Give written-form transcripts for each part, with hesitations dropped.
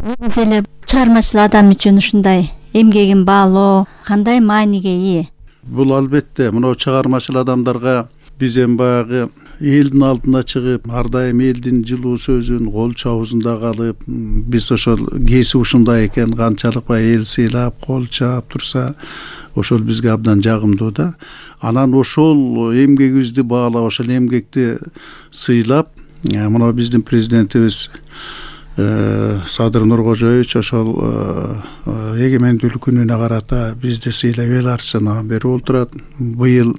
Деле чыгармачыл адам үчүн ушундай эмгегин баалоо кандай мааниге ээ? Бул албетте мына чыгармачыл адамдарга биз эми баягы элдин алдына чыгып, ар дайым элдин жылуу сөзүн кол чабуусунда калып, биз ошол кесип ушундай экен, канчалык баягы эл сыйлап, кол чаап турса, ошол бизге абдан жагымдуу да. Анан ошол эмгегибизди баалап, ошол эмгекти сыйлап, мына биздин президентибиз Садыр Нуркожоевич ошол эгемендүүлүк күнүнө карата бизди сыйлап эл арчысына берип отурат. Быйыл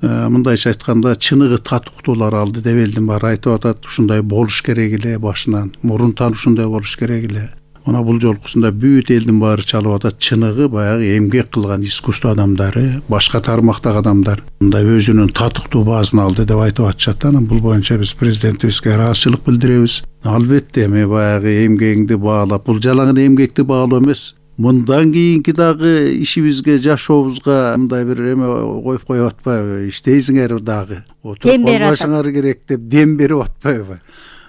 мындайча айтканда чыныгы татыктуулар алды деп элдин баары айтып атат. Ушундай болуш керек эле башынан, мурунтан ушундай болуш керек эле. Мына бул жолкусунда бүт элдин баары чалып атат. Чыныгы баягы эмгек кылган искусство адамдары, башка тармактагы адамдар мындай өзүнүн татыктуу баасын алды деп айтып атышат. Анан бул боюнча биз президентибизге ыраазычылык билдиребиз. Албетте эми баягы эмгегиңди баалап, бул жалаң эмгекти баалоо эмес. Мындан кийинки дагы ишибизге, жашообузга мындай бир эме коюп коюп атпайбы? Иштейсиңер дагы. Отуруп калбашыңар керек деп дем берип атпайбы?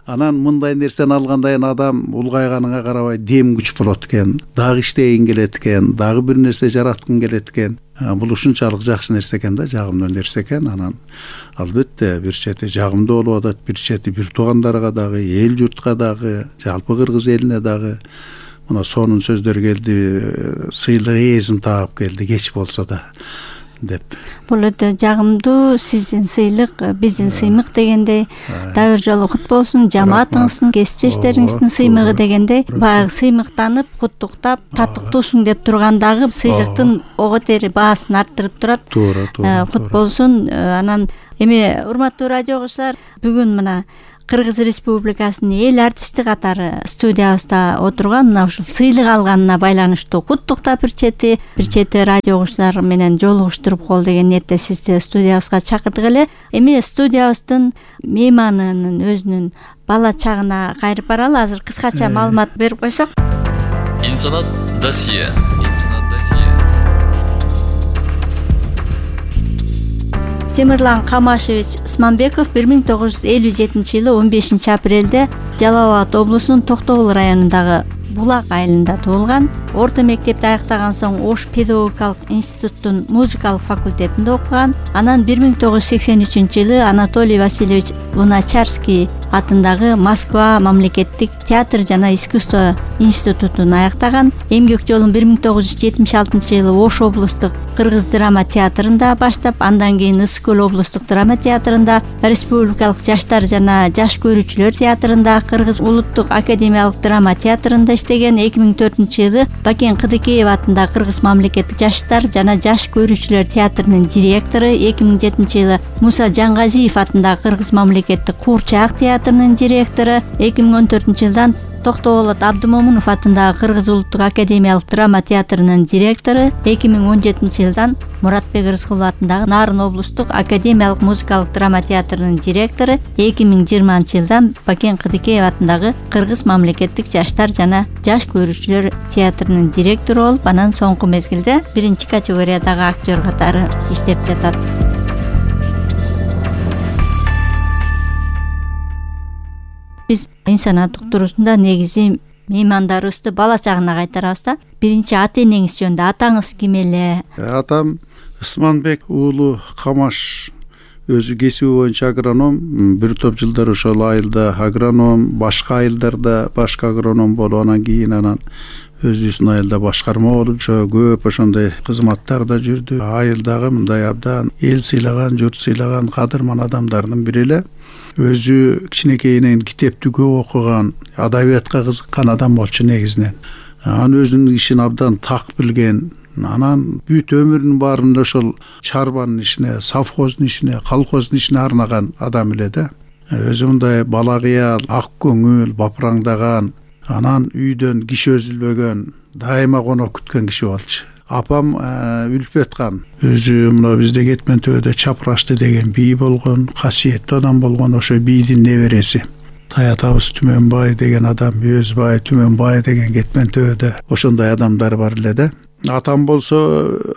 Анан мындай нерсени алгандан кийин адам улгайганыңа карабай дем күч болот экен, дагы иштегин келет экен, дагы бир нерсе жараткың келет экен. Бул ушунчалык жакшы нерсе экен да, жагымдуу нерсе экен. Анан албетте бир чети жагымдуу болуп атат, бир чети бир туугандарга дагы, эл журтка дагы, жалпы кыргыз элине дагы мына сонун сөздөр келди, сыйлык ээсин таап келди, кеч болсо да деп. Бул өтө жагымдуу, сиздин сыйлык биздин сыймык дегендей, дайыр жолу кут болсун, жамаатыңыздын, кесиптештериңиздин сыймыгы дегендей, баягы сыймыктанып, куттуктап, татыктуусуң деп тургандагы сыйлыктын ого тери баасын арттырып турат. Кут болсун. Анан эми урматтуу радио угуучулар, бүгүн мына Кыргыз Республикасынын эл артисти катары студиябызда отурган мына ушул сыйлык алганына байланыштуу куттуктап бир чети радио угуучулар менен жолугуштуруп кол деген ниетте сизди студиябызга чакырдык эле. Эми студиябыздын мейманынын өзүнүн бала чагына кайрып баралы. Азыр кыскача маалымат берип койсок. Инсанат досье. Темирлан Камашевич Сманбеков 1957 жылы 15 апрелде Жалал Абад облусунун Токтогул районундагы Булак айылында туулган. Орто мектепти аяктаган соң Ош педагогикалык институттун музыкалык факультетинде окуган. Анан 1983 жылы Анатолий Васильевич Луначарский атындагы Москва мамлекеттик театр жана искусство институтун аяктаган. Эмгек жолун 1976 жылы Ош облустук Кыргыз драма театрында баштап, андан кийин Ысык көл облустук драма театрында, республикалык жаштар жана жаш көрүүчүлөр театрында, Кыргыз улуттук академиялык драма театрында иштеген. 2004 жылы Бакен Кыдыкеев атындагы Кыргыз мамлекеттик жаштар жана жаш көрүүчүлөр театрынын директору. 2007 жылы Муса Жангазиев атындагы Кыргыз мамлекеттик Куурчак театрынын директору. 2014 жылдан Токтогул Абдымомунов атындагы Кыргыз улуттук академиялык драма театрынын директору. 2017 жылдан Муратбек Рыскулов атындагы Нарын облустук академиялык музыкалык драма театрынын директору. 2020 жылдан Бакен Кыдыкеев атындагы Кыргыз мамлекеттик жаштар жана жаш көрүүчүлөр театрынын директору болуп, анан соңку мезгилде биринчи категориядагы актер катары иштеп жатат. Биз инсанат уктуруусунда негизи меймандарыбызды бала чагына кайтарабыз да. Биринчи ата энеңиз жөнүндө, атаңыз ким эле? Атам Ысманбек уулу Камаш, өзү кесиби боюнча агроном. Бир топ жылдар ошол айылда агроном, башка айылдарда башка агроном болуп, анан кийин өзүбүздүн айылда башкарма болуп, көп ошондой кызматтарда жүрдү. Айылдагы мындай абдан эл сыйлаган, журт сыйлаган кадырман адамдардын бири эле. Өзү кичинекейинен китепти көп окуган, адабиятка кызыккан адам болчу негизинен. Анан өзүнүн ишин абдан так билген. Анан бүт өмүрүнүн баарын ошол чарбанын ишине, совхоздун ишине, колхоздун ишине арнаган адам эле да. Өзү мындай бала кыял, ак көңүл, бапыраңдаган, анан үйдөн киши өзүлбөгөн, дайыма конок күткөн киши болчу. Апам Үлпөткан өзү мына бизде Кетмен төбөдө Чапрашты деген бий болгон, касиеттүү адам болгон, ошо бийдин небереси. Таятабыз Түмөнбай деген адам, Өзбай, Түмөнбай деген Кетмен төбөдө ошондой адамдар бар эле да. Атам болсо,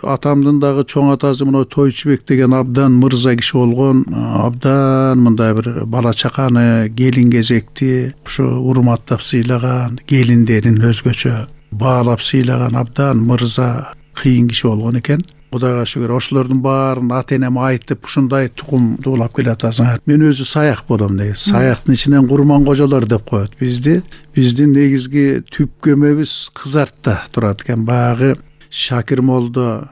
атамдын дагы чоң атасы мына Тойчубек деген абдан мырза киши болгон, абдан мындай бир бала чаканы, келин кезекти ушу урматтап сыйлаган, келиндерин өзгөчө баалап сыйлаган абдан мырза, кыйын киши болгон экен. Кудайга шүгүр, ошолордун баарын ата энем айтып, ушундай тукум дуулап келатасың. Мен өзү саяк болом деген. Саяктын ичинен Курмангожолор деп коет бизди. Биздин негизги түпкөмөбүз Кызартта турат экен. Баягы Шакир молдо,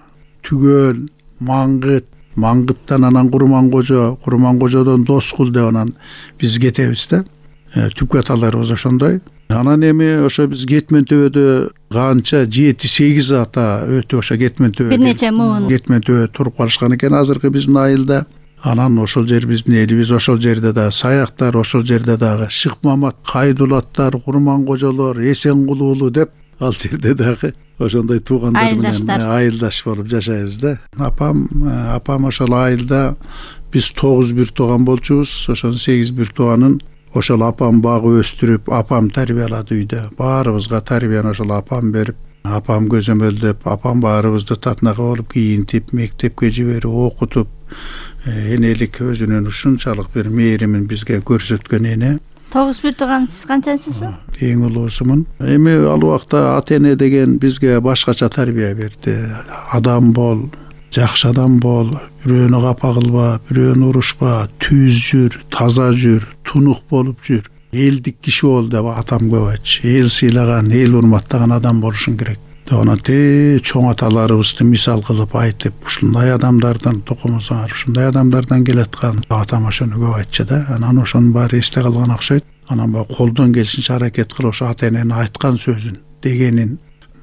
Түгөл, Маңгыттан анан Курмангожо, Курмангожодон Доскул деп анан биз кетебиз да. Түпкө аталарыбыз ошондой. Анан эми ошо биз Кетмен төбөдө канча 7-8 ата өтө ошо Кетмен төбөдө. Бир нече муун Кетмен төбөдө туруп калышкан экен азыркы биздин айылда. Анан ошол жер биздин элибиз, ошол жерде дагы саяктар, ошол жерде дагы Шыкмамат, Кайдулаттар, Курмангожолор, Эсенгул деп ал жерде дагы ошондой туугандар менен айылдаш болуп жашайбыз да. Апам ошол айылда биз 9 бир тууган болчубуз. Ошонун 8 бир тууганын ошол апам багып өстүрүп, апам тарбиялады үйдө. Баарыбызга тарбияны ошол апам берип, апам көзөмөлдөп, апам баарыбызды татынакы болуп кийинтип, мектепке жиберип, окутуп, энелик өзүнүн ушунчалык бир мээримин бизге көрсөткөн эне. 9 бир тууган, сиз канчанчысыз? Эң улуусумун. Эми ал убакта ата эне деген бизге башкача тарбия берди. Адам бол, жакшы адам бол, бирөөнү капа кылба, бирөөнү урушпа, түз жүр, таза жүр, тунук болуп жүр, элдик киши бол деп атам көп айтчу. Эл сыйлаган, эл урматтаган адам болушуң керек. Анан чоң аталарыбызды мисал кылып айтып, ушундай адамдардан тукумусуңар, ушундай адамдардан келаткан атам ошону көп айтчу да. Анан ошонун баары эсте калган окшойт. Анан баягы колдон келишинче аракет кылып ошо ата эненин айткан сөзүн, дегенин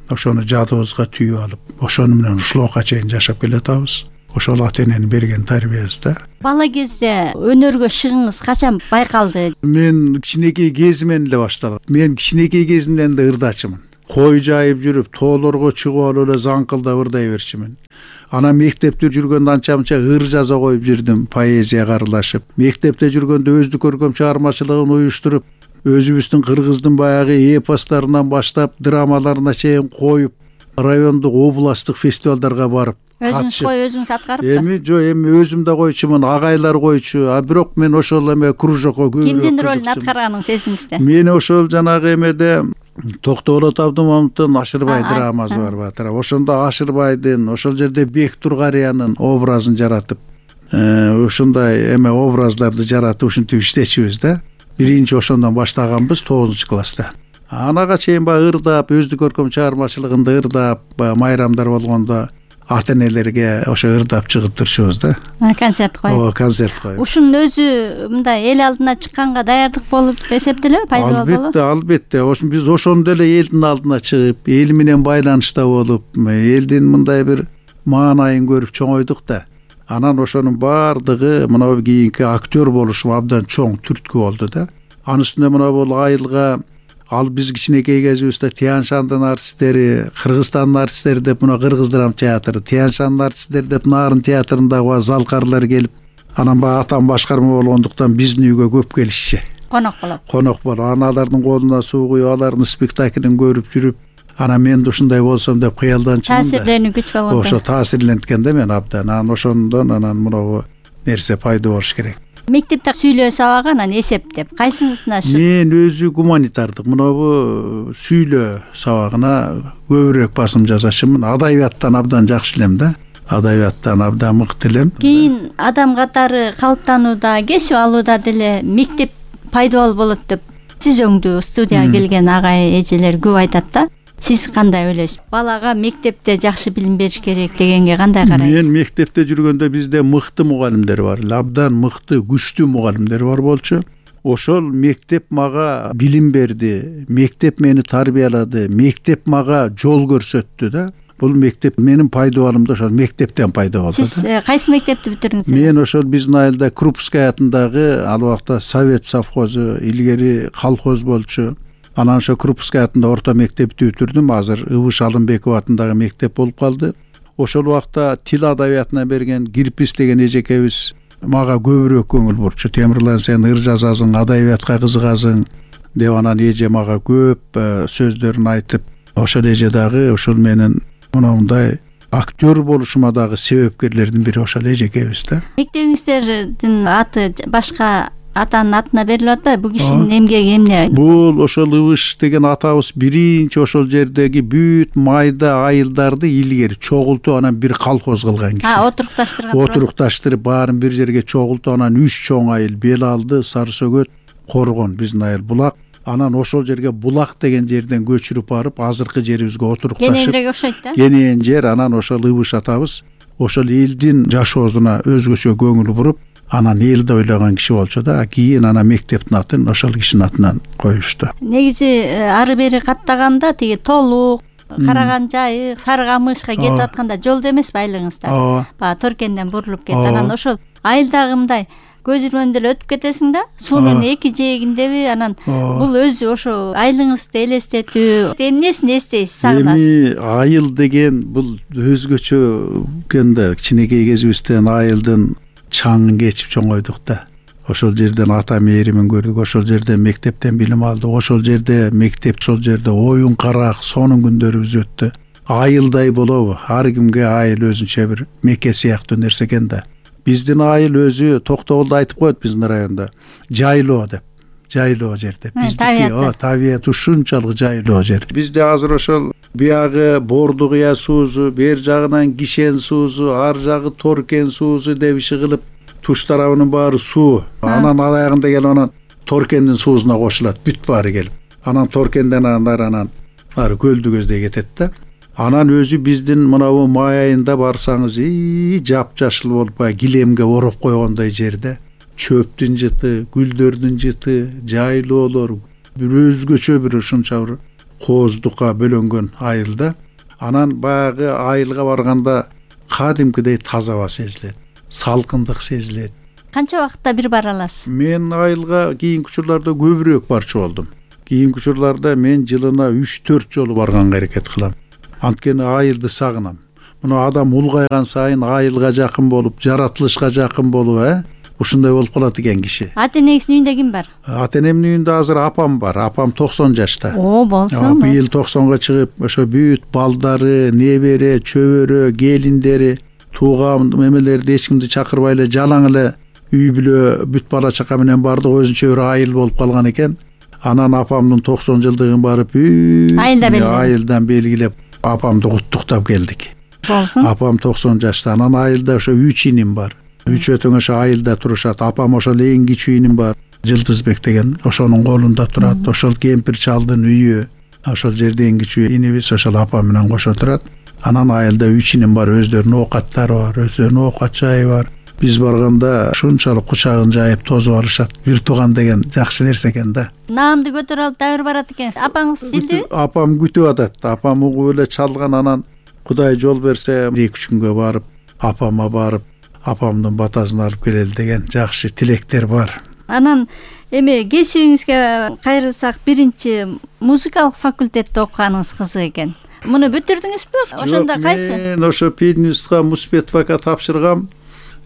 ошону жадыбызга түйүп алып, ошону менен ушулга чейин жашап келатабыз. Ошол ата эненин берген тарбиясы да. Бала кезде өнөргө шыгыңыз качан байкалды? Мен кичинекей кезимден эле башталат. Мен кичинекей кезимден эле ырдачымын. Кой жайып жүрүп, тоолорго чыгып алып эле заңкылдап ырдай берчимин. Анан мектепте жүргөндө анча-мынча ыр жаза коюп жүрдүм, поэзияга аралашып. Мектепте жүргөндө өздүк көркөм чыгармачылыгын уюштуруп, өзүбүздүн кыргыздын баягы эпостарынан баштап драмаларына чейин коюп, райондук, областтык фестивалдарга барып өзүңүз коюп, өзүңүз аткарып? Эми өзүм да койчумун, агайлар койчу. Бирок мен ошол эме кружокко көбүрөөк кимдин ролун аткарганыңыз эсиңизде? Мен ошол жанагы эмеде Токтоолот Абдымамыттын Ашырбай драмасы бар батыр. Ошондо Ашырбайдын, ошол жерде Бек Тургариянын образын жаратып, ушундай эме образдарды жаратып ушинтип иштечүбүз да. Биринчи ошондон баштаганбыз 9-класста. Анага чейин баягы ырдап, өздүк көркөм чыгармачылыгында ырдап, майрамдар болгондо ата энелерге ошо ырдап чыгып турчубуз да. Концерт коюп. Концерт коюп. Ушунун өзү мындай эл алдына чыкканга даярдык болуп эсептелеби, пайдалуу болуп? Албетте. Биз ошондо эле элдин алдына чыгып, эл менен байланышта болуп, элдин мындай бир маанайын көрүп чоңойдук да. Анан ошонун баардыгы мына кийинки актер болушум абдан чоң түрткү болду да. Анын үстүнө мына бул айылга ал биз кичинекей кезибизде Тянь-Шандын артисттери, Кыргызстандын артисттери деп мына Кыргыз драма театры, Тянь-Шандын артисттери деп Нарын театрындагы залкарлар келип, анан баягы атам башкарма болгондуктан биздин үйгө көп келишчи. Конок болот. Конок болот. Анан алардын колуна суу куюп, алардын спектаклин көрүп жүрүп, анан мен да ушундай болсом деп кыялданчымын да. Таасирленип күч болгон. Ошо таасирленткен да мен абдан. Анан ошондон анан мына нерсе пайда болуш керек. Мектепте сүйлөө сабагы, анан эсептеп кайсысына шык? Мен өзү гуманитардык, мына сүйлөө сабагына көбүрөөк басым жасашымын. Адабияттан абдан жакшы элем да. Адабияттан абдан мыкты элем. Кийин адам катары калыптанууда, кесип алууда деле мектеп пайдалуу болот деп сиз өңдүү студияга келген агай эжелер көп айтат да. Сиз кандай ойлойсуз? Балага мектепте жакшы билим бериш керек дегенге кандай карайсыз? Мен мектепте жүргөндө бизде мыкты мугалимдер бар, абдан мыкты, күчтүү мугалимдер бар болчу. Ошол мектеп мага билим берди, мектеп мени тарбиялады, мектеп мага жол көрсөттү да. Бул мектеп менин пайдалуулумда ошол мектептен пайда болду да. Сиз кайсы мектепти бүтүрдүңүз? Мен ошол биздин айылда Крупская атындагы ал убакта Совет совхозу, илгери колхоз болчу. Анан ошо Крупская атында орто мектепти бүтүрдүм. Азыр Ыбыш Алымбеков атындагы мектеп болуп калды. Ошол убакта тил адабиятына берген Кирпиз деген эжекебиз мага көбүрөөк көңүл бурчу. Темирлан, сен ыр жазасың, адабиятка кызыгасың деп анан эже мага көп сөздөрүн айтып, ошол эже дагы ушул менин мындай актер болушума дагы себепкерлердин бири ошол эжекебиз да. Мектебиңиздердин аты башка атанын атына берилип атпайбы? Бул кишинин эмгеги эмне? Бул ошол Ыбыш деген атабыз биринчи ошол жердеги бүт майда айылдарды илгери чогултуп анан бир колхоз кылган киши. Отурукташтырып баарын бир жерге чогултуп анан 3 чоң айыл: Бел алды, Сары Сөгөт, Коргон, биздин айыл, Булак. Анан ошол жерге Булак деген жерден көчүрүп барып, азыркы жерибизге отурукташып. Кененирээк окшойт да. Кенен жер, анан ошол Ыбыш атабыз ошол элдин жашоосуна өзгөчө көңүл буруп, анан элди ойлогон киши болчу да. Кийин анан мектептин атын ошол кишинин атынан коюшту. Негизи ары бери каттаганда тиги Толук, Караган Жайык, Сары Камышка кетип атканда жолдо эмеспи айылыңыздар? Баягы Торкенден бурулуп кетти. Анан ошол айылдагы мындай көз ирмемде эле өтүп кетесиң да. Суунун эки жээгиндеби? Анан бул өзү ошо айылыңызды элестетүү. Эмнесин эстейсиз, сагынасыз? Эми айыл деген бул өзгөчө экен да. Кичинекей кезибизден айылдын чаңын кечип чоңойдук да. Ошол жерден ата мээримин көрдүк, ошол жерден мектептен билим алдык, ошол жерде мектеп, ошол жерде оюн карак, сонун күндөрүбүз өттү. Айылдай болобу? Ар кимге айыл өзүнчө бир меке сыяктуу нерсе экен да. Биздин айыл өзү Токтогулда айтып коет биздин районда. Жайлоо деп. Жайлоо жер деп. Биздики табият ушунчалык жайлоо жер. Бизде азыр ошол биягы Борду кыя суузу, бер жагынан Кишен суузу, ар жагы Торкен суузу деп иши кылып, туш тарабынын баары суу. Анан аягында келип анан Торкендин суузуна кошулат, бүт баары келип. Анан Торкенден анан ары көлдү көздөй кетет да. Анан өзү биздин мынабу май айында барсаңыз, жапжашыл болуп килемге ороп койгондой жерде чөптүн жыты, гүлдөрдүн жыты, жайлоолор, бир өзгөчө бир ушунча бир кооздукка бөлөнгөн айылда. Анан баягы айылга барганда кадимкидей таза аба сезилет, салкындык сезилет. Канча убакытта бир бара аласыз? Мен айылга кийинки учурларда көбүрөөк барчу болдум. Кийинки учурларда мен жылына 3-4 жолу барганга аракет кылам. Анткени айылды сагынам. Муну адам улгайган сайын айылга жакын болуп, жаратылышка жакын болуп, ушундай болуп калат экен киши. Ата энеңиздин үйүндө ким бар? Ата энемдин үйүндө азыр апам бар. Апам 90 жашта. Болсун. Быйыл 90га чыгып, ошо бүт балдары, небере, чөбөрө, келиндери, тууган эмелерди эч кимди чакырбай эле жалаң эле үй бүлө бүт бала чака менен бардык өзүнчө бир айыл болуп калган экен. Анан апамдын 90 жылдыгын барып айылдан белгилеп апамды куттуктап келдик. Болсун. Апам 90 жашта. Анан айылда ошо 3 иним бар. Үчөөтөң ошо айылда турушат. Апам ошол эң кичүү иним бар. Жылдызбек деген ошонун колунда турат. Ошол кемпир чалдын үйү. Ошол жерде эң кичүү инибиз ошол апам менен кошо турат. Анан айылда 3 иним бар. Өздөрүнүн оокаттары бар, өздөрүнүн оокат жайы бар. Биз барганда ушунчалык кучагын жайып тозуп алышат. Бир тууган деген жакшы нерсе экен да. Наамды көтөрүп алып дайыр барат экенсиз. Апаңыз билдиби? Апам күтүп атат. Апам угуп эле чалган, анан Кудай жол берсе 2-3 күнгө барып, апама барып, апамдын батасын алып келели деген жакшы тилектер бар. Анан эми кесибиңизге кайрылсак, биринчи музыкалык факультетте окуганыңыз кызык экен. Муну бүтүрдүңүзбү? Ошондо кайсы? Мен ошо пединститутка Муспетовага тапшыргам.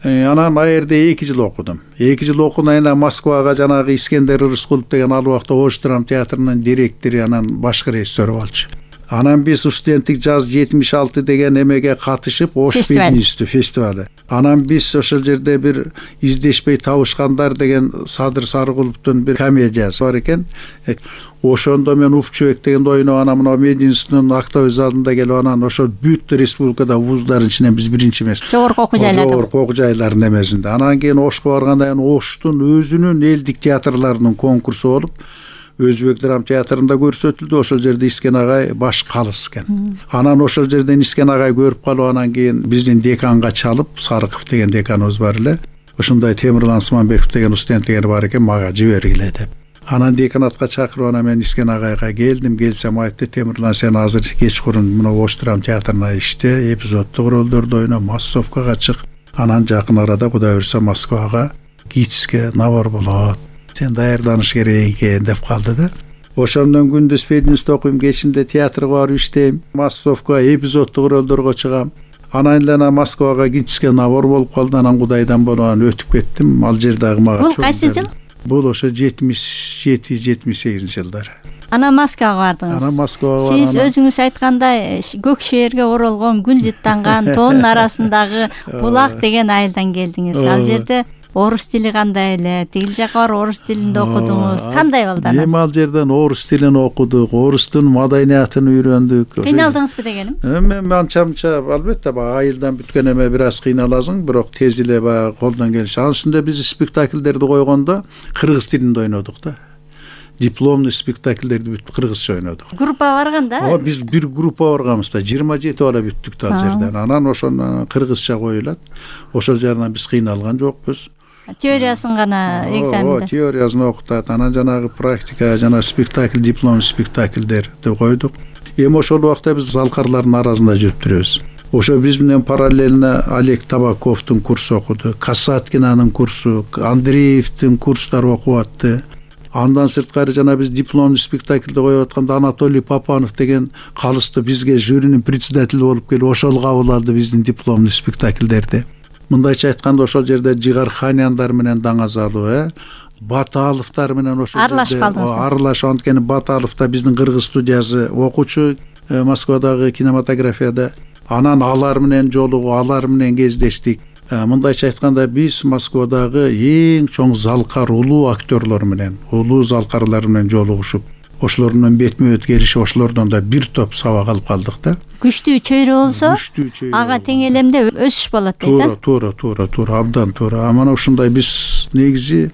Анан ал жерде 2 жыл окудум. 2 жыл окугандан кийин Москвага жанагы Искендер Рыскулов деген ал убакта Ош драма театрынын директору, анан башкы режиссер болчу. Анан биз студенттик жаз 76 деген эмеге катышып, Ош пединституту фестивалы. Анан биз ошол жерде бир издешпей табышкандар деген Садыр Сарыгуловдун бир комедиясы бар экен. Ошондо мен Уфчубек дегенди ойноп, анан мына мединституттун актовый залында келип, анан ошол бүт республикада вуздардын ичинен биз биринчи эмес. Жогорку окуу жайларда. Жогорку окуу жайларынын эмесинде. Анан кийин Ошко баргандан кийин Оштун өзүнүн элдик театрларынын конкурсу болуп, Өзбек драма театрында көрсөтүлдү. Ошол жерде Искен агай баш калыс экен. Анан ошол жерден Искен агай көрүп калып, анан кийин биздин деканга чалып, Сарыков деген деканыбыз бар эле. Ошондой Темирлан Сманбеков деген студенттер бар экен, мага жибергиле деп. Анан деканатка чакырып, анан мен Искен агайга келсем айтты: Темирлан, сен азыр кечкурун мына Ош драма театрына иште, эпизоддук ролдорду ойно, массовкага чык. Анан жакын арада Кудай буйрса Москвага ГИТИСке набор болот. Сен даярданыш керек экен деп калды да. Ошондон күндүз пединститут окуйм, кечинде театрга барып иштейм, массовка, эпизоддук ролдорго чыгам. Анан эле Москвага ГИТИСке набор болуп калды. Анан Кудайдан болуп өтүп кеттим. Ал жер дагы мага. Бул кайсы жыл? Бул ошо 77-78 жылдары. Анан Москвага бардыңыз. Анан Москвага Сиз өзүңүз айткандай көк шээрге оролгон гүл жыттанган тоонун арасындагы булак деген айылдан келдиңиз. Ал жерде орус тили кандай эле? Тигил жака барып орус тилинде окудуңуз. Кандай болду анан? Эми ал жерден орус тилин окудук, орустун маданиятын үйрөндүк. Кыйналдыңызбы дегеним? Мен анча албетте баягы айылдан бүткөн эме бир аз кыйналасың, бирок тез эле баягы колдон келиши. Анын үстүндө биз спектакльдерди койгондо кыргыз тилинде ойнодук да. Дипломный спектакльдерди бүт кыргызча ойнодук. Группа барганда? Биз бир группа барганбыз да, 27 бала бүттүк да ал жерден. Анан ошону кыргызча коюлат. Ошол жарынан биз кыйналган жокпуз. Теориясын гана экзаменде. Теориясын окутат. Анан жанагы практика, жана спектакль, диплом спектакльдерди койдук. Эми ошол убакта биз залкарлардын арасында жүрүп турбуз. Ошо биз менен параллельно Олег Табаковдун курсу окуду, Касаткинанын курсу, Андреевдин курстары окуп атты. Андан сырткары жана биз дипломный спектакльди коюп атканда Анатолий Папанов деген калысты бизге жюринин председатели болуп келип, ошол кабыл алды биздин дипломный спектакльдерди. Мындайча айтканда ошол жерде Жигарханяндар менен Даңазалуу, Баталовдор менен ошол аралашып калдыңызбы? Аралашып, анткени Баталов да биздин кыргыз студиясы окуучу Москвадагы кинематографияда. Анан алар менен жолугуп, алар менен кездештик. Мындайча айтканда биз Москвадагы эң чоң залкар улуу актерлор менен, улуу залкарлар менен жолугушуп, ошолор менен бетме-бет келишип, ошолордон да бир топ сабак алып калдык да. Күчтүү чөйрө болсо, ага тең элемде өсүш болот дейт. Туура, абдан туура. Амана ушундай биз негизи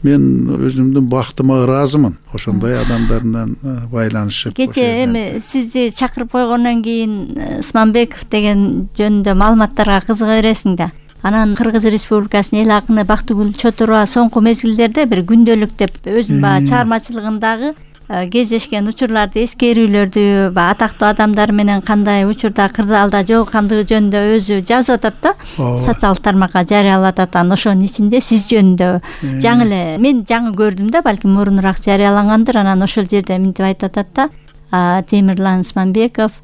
мен өзүмдүн бактыма ыраазымын. Ошондой адамдар менен байланышып. Кечээ эми сизди чакырып койгондон кийин Смамбеков деген жөнүндө маалыматтарга кызыга бересиң да. Анан Кыргыз Республикасынын эл акыны Бактыгүл Чотурова соңку мезгилдерде бир күндөлүк деп өзүнүн баягы чыгармачылыгындагы кездешкен учурларды, эскерүүлөрдү, атактуу адамдар менен кандай учурда кырдаалда жолуккандыгы жөнүндө өзү жазып атат да, социалдык тармакка жарыялап атат. Анан ошонун ичинде сиз жөнүндө жаңы эле мен жаңы көрдүм да, балким мурунураак жарыялангандыр. Анан ошол жерде мынтип айтып атат да, Темирлан Смамбеков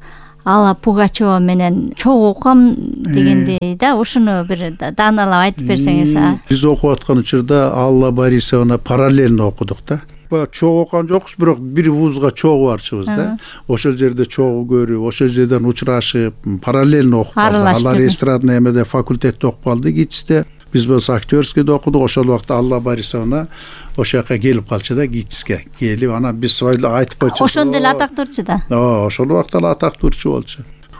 Алла Пугачева менен чогуу окугам дегендей да, ушуну бир дааналап айтып берсеңиз. Биз окуп аткан учурда Алла Борисовна параллельно окудук да. Чогуу окуган жокпуз, бирок бир вузга чогуу барчыбыз да. Ошол жерде чогуу көрүп, ошол жерден учурашып, параллельно окуп калдык. Алар эстрадный эмеде факультетте окуп калды ГИТИСте. Биз болсо актерскийде окудук. Ошол убакта Алла Борисовна ошол жака келип калчу да, ГИТИСке келип, анан биз айтып койчу. Ошондо эле атактуурчу да. Ошол убакта эле атактуурчу болчу.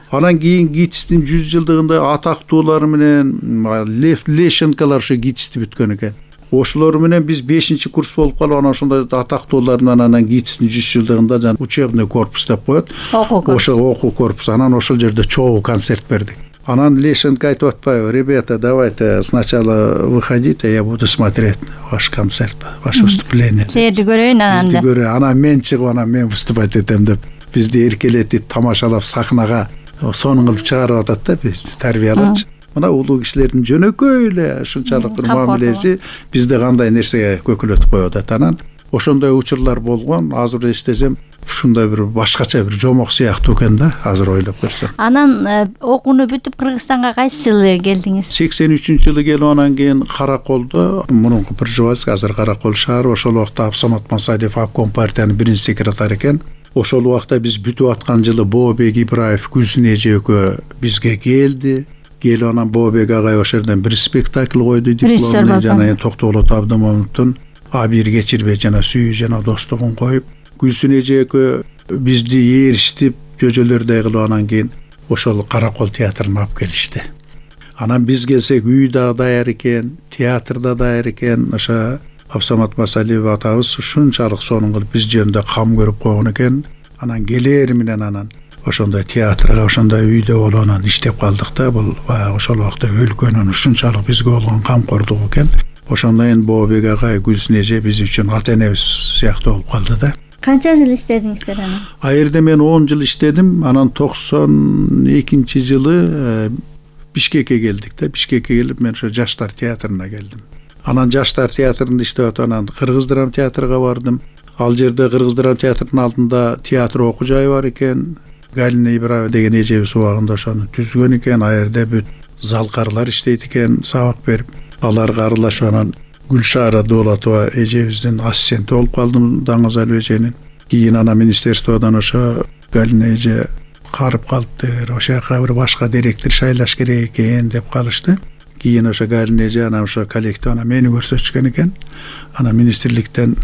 Анан кийин ГИТИСтин 100 жылдыгында атактуулар менен Лев Лещенколор ошо ГИТИСти бүткөн экен. Ошолор менен биз 5-чи курс болуп калып, анан ошондой атактуулар менен анан ГИТИСтин 100 жылдыгында жана учебный корпус деп коет. Ошол окуу корпус. Анан ошол жерде чогуу концерт бердик. Анан Лещенко айтып атпайбы: "Ребята, давайте сначала выходите, я буду смотреть ваш концерт, ваше выступление." Сиерди көрөйүн анан. Анан мен чыгып, анан мен выступать этем деп бизди эркелетип, тамашалап, сахнага сонун кылып чыгарып атат да, бизди тарбиялапчы. Мына улуу кишилердин жөнөкөй эле ушунчалык бир мамилеси бизди кандай нерсеге көкөлөтүп коюп атат. Анан ошондой учурлар болгон. Азыр эстесем, ушундай бир башкача бир жомок сыяктуу экен да, азыр ойлоп көрсөм. Анан окууну бүтүп Кыргызстанга кайсы жылы келдиңиз? 83-жылы келип, анан кийин Караколдо, мурунку Пржевальск, азыр Каракол шаары, ошол убакта Абсамат Масалиев обком партиянын биринчи секретары экен. Ошол убакта биз бүтүп аткан жылы Бообек Ибраев, Гүлсүн эже экөө бизге келди. Келип, анан Бообек агай ошол жерден бир спектакль койду, дипломный, жана Токтогулот Абдымомундун Абир кечирбей жана сүйүү жана достугун коюп, Гүлсүн эже экөө бизди ээриштип, жөжөлөрдөй кылып, анан кийин ошол Каракол театрына алып келишти. Анан биз келсек, үй да даяр экен, театр да даяр экен. Ошо Абсамат Масалиев атабыз ушунчалык сонун кылып биз жөнүндө кам көрүп койгон экен. Анан келер менен анан ошондой театрга, ошондой үйдө болуп анан иштеп калдык да. Бул ошол убакта өлкөнүн ушунчалык бизге болгон камкордугу экен. Ошондон Бообек агай, Гүлсүн эже биз үчүн ата энебиз сыяктуу болуп калды да. Канча жыл иштедиңиздер анан? А жерде мен 10 жыл иштедим. Анан 92-жылы Бишкекке келдик да. Бишкекке келип мен ошо Жаштар театрына келдим. Анан Жаштар театрында иштеп атып, анан Кыргыз драма театрга бардым. Ал жерде Кыргыз драма театрынын алдында театр окуу жайы бар экен. Галина Ибраева деген эжебиз убагында ошону түзгөн экен. А жерде бүт залкарлар иштейт экен, сабак берип. Аларга аралашып анан Гүлшара Дулатова эжебиздин ассистенти болуп калдым, Даңазалуу эженин. Кийин ана министерстводон ошо Галина эже карып калыптыр, ошол жака бир башка директор шайлаш керек экен деп калышты. Кийин ошо Галина эже ана ошо коллектив мени көрсөтүшкөн экен. Ана министрликтен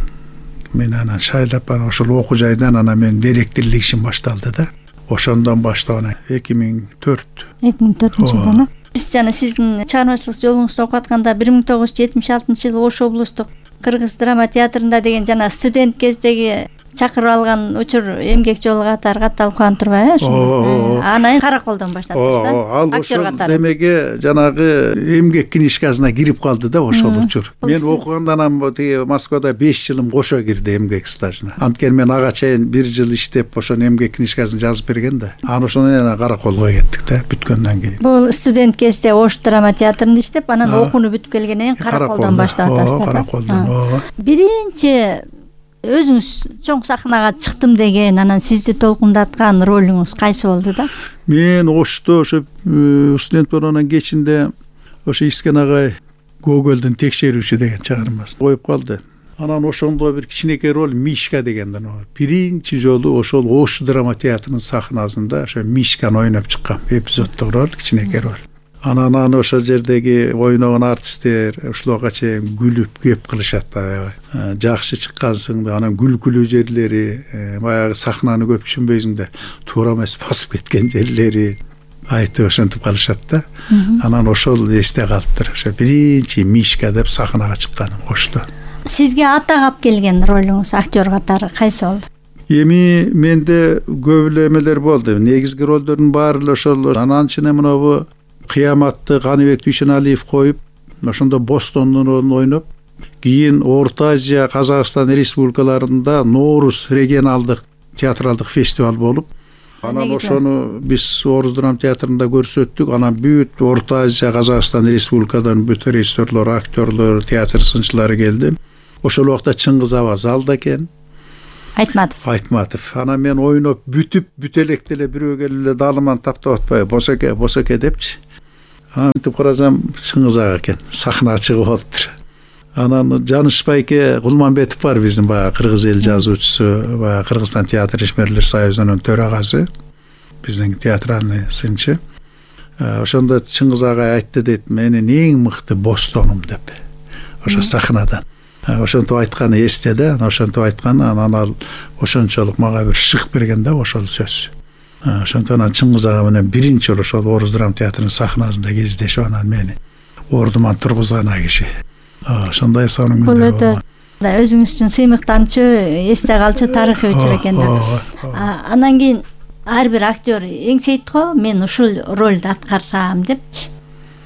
мен анан шайлап ошол окуу жайдан мен директорлук ишим башталды да. Ошондон баштап 2004-жылдан. Биз жана сиздин чыгармачылык жолуңузду окуп атканда 1976-жылы Ош облустук Кыргыз драма театрында деген жана студент кездеги чакырып алган учур эмгек жолу катары катталып калган турбайбы? Ошо. Анан Караколдон баштадыңыз да? Ал ошол демеге жанагы эмгек книжкасына кирип калды да ошол учур. Мен окуганда анан тиги Москвада 5 жылым кошо кирди эмгек стажына. Анткени мен ага чейин 1 жыл иштеп ошону эмгек книжкасын жазып берген да. Анан ошондон Караколго кеттик да бүткөндөн кийин. Бул студент кезде Ош драма театрында иштеп, анан окууну бүтүп келгенден кийин Караколдон баштап атасыздар да? Караколдон. Биринчи өзүңүз чоң сахнага чыктым деген, анан сизди толкундаткан ролуңуз кайсы болду да? Мен Ошто ошо студент болгондон кечинде ошо Искен агай Гогольдун текшерүүчү деген чыгармасын коюп калды. Анан ошондо бир кичинекей роль Мишка дегенден биринчи жолу ошол Ош драма театрынын сахнасында ошо Мишканы ойноп чыккам. Эпизоддук роль, кичинекей роль. Анан ошол жердеги ойногон артисттер ушулга чейин күлүп кеп кылышат да. Жакшы чыккансың да, анан күлкүлүү жерлери, баягы сахнаны көп түшүнбөйсүң да, туура эмес басып кеткен жерлери айтып ошентип калышат да. Анан ошол эсте калыптыр. Ошо биринчи Мишка деп сахнага чыкканым Ошто. Сизге ата кап келген ролуңуз актер катары кайсы болду? Эми менде көп эле эмелер болду. Негизги ролдордун баары эле ошол. Анан чыны мынабу Кыяматты Каныбек Дүйшеналиев коюп, ошондо Бостондун ролун ойноп, кийин Орто Азия, Казакстан республикаларында Ноорус регионалдык театралдык фестиваль болуп, анан ошону биз Орус драма театрында көрсөттүк. Анан бүт Орто Азия, Казакстан республикадан бүт режиссерлор, актерлор, театр сынчылары келди. Ошол убакта Чыңгыз Аба залда экен. Айтматов. Анан мен ойноп бүтүп, бүт электе эле бирөө келип эле даалыман таптап атпайбы, босоке депчи. Антип карасам Чыңгыз Ага экен, сахнага чыгып алыптыр. Анан Жаныш Байке Кулманбетов бар, биздин баягы кыргыз эл жазуучусу, баягы Кыргызстан театр ишмерлер союзунун төрагасы, биздин театральный сынчы. Ошондо Чыңгыз Ага айтты дейт, менин эң мыкты Бостонум деп. Ошо сахнадан. Ошентип айтканы эсте да, ошентип айтканы, анан ал ошончолук мага бир шык берген да ошол сөз. Ошондон Чыңгыз Ага менен биринчи ошол Орус драма театрынын сахнасында кездешип, анан мени ордуман тургузган киши. Ошондой сонун күндөр болду. Өзүңүз үчүн сыймыктанчу, эсте калчу тарыхый учур экен да. Анан кийин ар бир актер эңсейт го, мен ушул ролду аткарсам депчи.